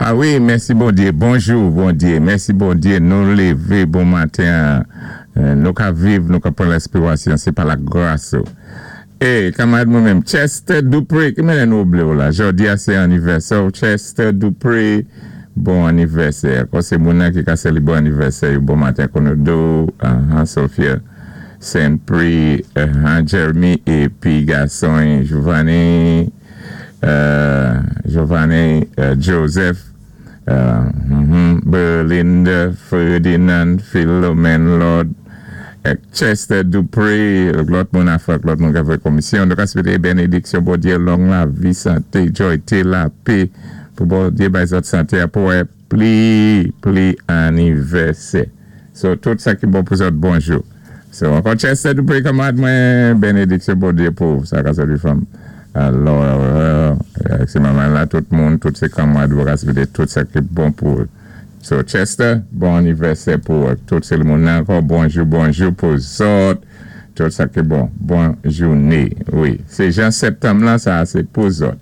A wi, mèsi Bondyé. Bonjou Bondyé. Mèsi Bondyé nou lévé bon maten an. Nou ka viv, nou ka pran lèspirasyon, sé pa lagras ou. E, kanmarad mwen menm, Chester Dupré, ki mennè nou oblé w la? Jòdi a sé anivèsè w, Chester Dupré. Bon anivèsè. Kò sé moun nan ki ka seli bon anivèsè yo bon maten Konodo, ahan, Sophia Saint-Prix, ahan, Jeremy épi gason y Giovanni. Giovanni Joseph, Berlinda Ferdinand, Philomène Lord, ak Chester Dupré, lòt moun afè ak lòt moun k ap fè komisyon. Nou ka swete benediksyon Bondye, long lavi, sante, jòyte, lapè, pou Bondye bay zòt sante a pou wè pli pli anivèsè. So tout sa ki bon pou zòt bonjou. So ankò Chester Dupré kanmarad mwen benediksyon Bondye pou ou sa ka sèvi fanm alò se manman la tout moun tout se kanmarad ou ka swete tout sa ki bon pou ou so Chester bon anivèsè pou ou ak tout se moun nan ankò bonjou bonjou pou zòt tout sa ki bon bon joune wi se jan septanm lan sa se pou zòt.